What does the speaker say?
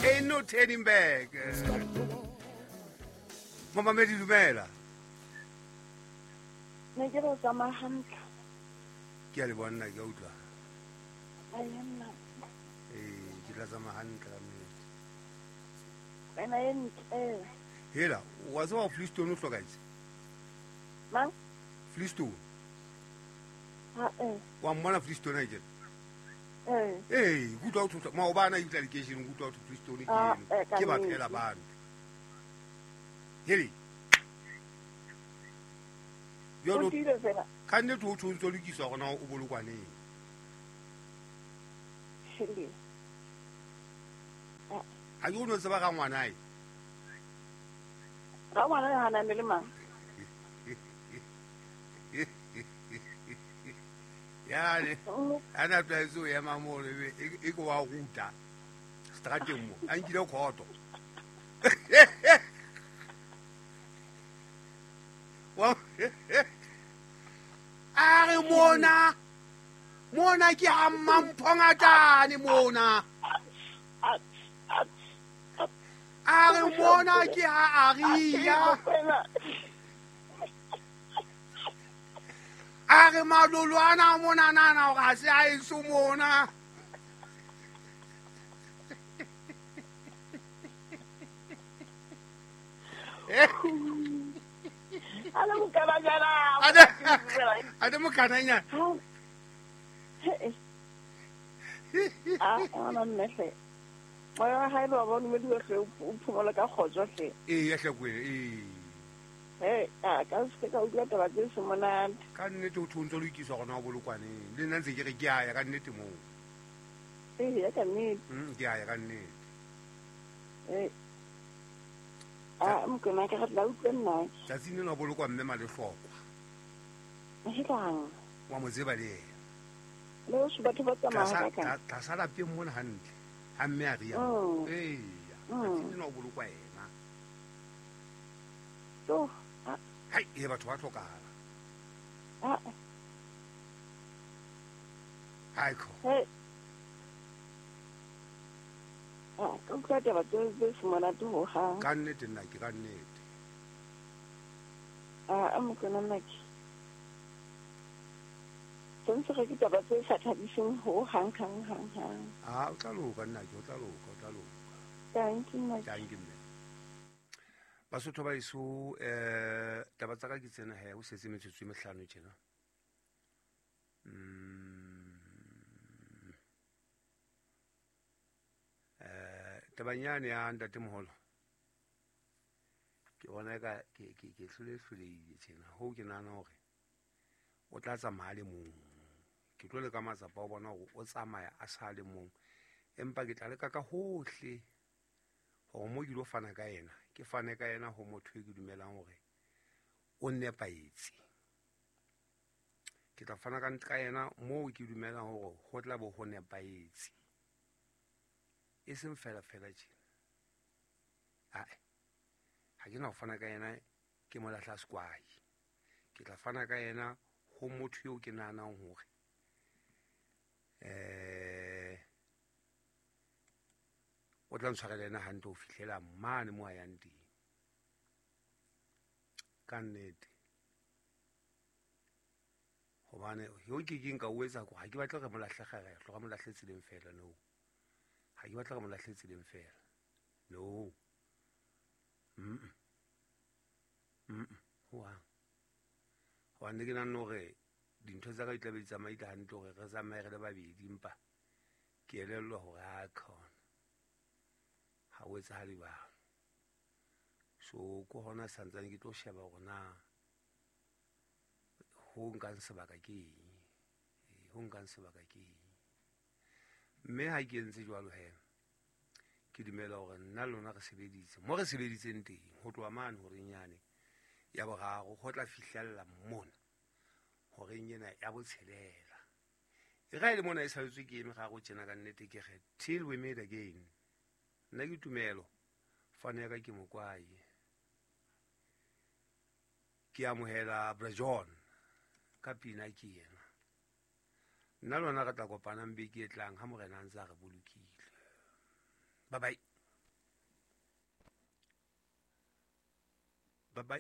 Ain't no turning back. Momamedi, dumela. Ne ke re o tsamaya hantle. Ke a le bona, ke a utlwa. Ai, nna. Ee, ke tla tsamaya hantle ka nnete. Wena e ntle. Hela, wa tseba Flistone o hlokahetse? Mang? Flistone. Ha eh. Wa mmona Flistone a kena? Eh. Ee, ke utlwa ho thwe maobane a itla lekeisheneng, ke utlwa ho thwe Flistone ke Ah, eno. eh, ka Ke ba nnete. phela bano. Hele. O Jwale tiile fela. ka nnete ho thwe o ntso lokiswa hore na o bolokwaneng. Hele. Ha ke o no tseba ka ngwanae. Ka ngwana ya hana le mang? Yane, a na tlwaetse ho ema mono ebe e ke wa ruta strateng mo, a nkile khoto. A re mona, mona ke ha Mmamphongatane mona. A re mona ke ha Aria. A re malolwana mona nana hore ha se a eso mona. A le mokananyana. A le mokananyana. A ngwana mme hle. Moya wa hae le wa bona o hle o phomola ka kgotso hle. Ee, ya hlakwele, ee. He, a ka se ka utlwa taba tse se monate. Ka nnete ho thwe o ntso lokiswa hore na o bolokwaneng. Le nna ntse ke re ke a ya ka nnete moo. Ee, ya ka nnete. Ke a ya ka nnete. Ee. A mokona ka re tla utlwa nna. Tsatsing lena o bolokwa mme Malehlokwa. Helang. Wa mo tseba le yena. Le ho batho ba tsamaya ka ka. Tlasa lapeng mona hantle. Ha mme a ria. Ee. Tsatsing lena o bolokwa yena. To. Hai, e batho ba hlokahala. Ah. Hai ko. Hey. Ah, ka utlwa taba tse se monate ho hang. Ka nnete nna ke ka nnete. Ah, mokona nna ke. Sentse re ke taba tse sa thabiseng ho hang hang hang hang. Ah, o tla loka nna ke, o tla loka, o tla loka. Thank you, nna. Thank you, mme. Basotho ba eso, taba tsa ka ke tsena he, o setse metsotso e mehlano tjena. Tabanyane ya ntatemoholo. Ke bona eka ke hlole-hlolehile tjena. Hoo ke nahana hore o tla tsamaya a le mong. Ke tlo leka matsapa a ho bona hore o tsamaya a sa le mong. Empa ke tla leka ka hohle hore mo ke ilo fana ka yena, ke fane ka yena ho motho e ke dumelang hore o nepahetse. Ke tla fana ka yena moo ke dumelang hore ho tla bo ho nepahetse. E seng fela fela tjena. Ae, ha ke na ho fana ka yena ke mo lahla sekwai. Ke tla fana ka yena ho motho eo ke nahanang hore o tla ntshwarela yena hantle ho fihlela mane moo a yang teng. Ka nnete. Hobane ho ke keng ka o etsa ko, ha ke batle re mo lahle kgerehlo, re mo lahle tseleng fela, no. Ha ke batle re mo lahle tseleng fela. No. Ho hang. Hobane ke nahana hore dintho tsa ka di tla be di tsamaile hantle hore re tsamaye re le babedi, empa ke elellwa hore ha khona. Ha o etsahale jwalo. So ke hona santsane ke tlo sheba hore na ho nkang sebaka ke eng. Ho nkang sebaka ke eng. Mme ha ke entse jwalo he, ke dumela hore nna le lona re sebeditse. Mo re sebeditseng teng, ho tloha mane horeng yane ya boraro, ho tla fihlella mona horeng ena ya botshelela. E ra e le mona e saletswe ke eme garo tjena ka nnete ke re till we meet again. Nna ke tumelo, fane ya ka ke mokwai. Ke amohela Bra John ka pina ke yena. Nna lona re tla kopanang beke e tlang ha morena a ntse a re bolokile. Bye bye. Ba, ba,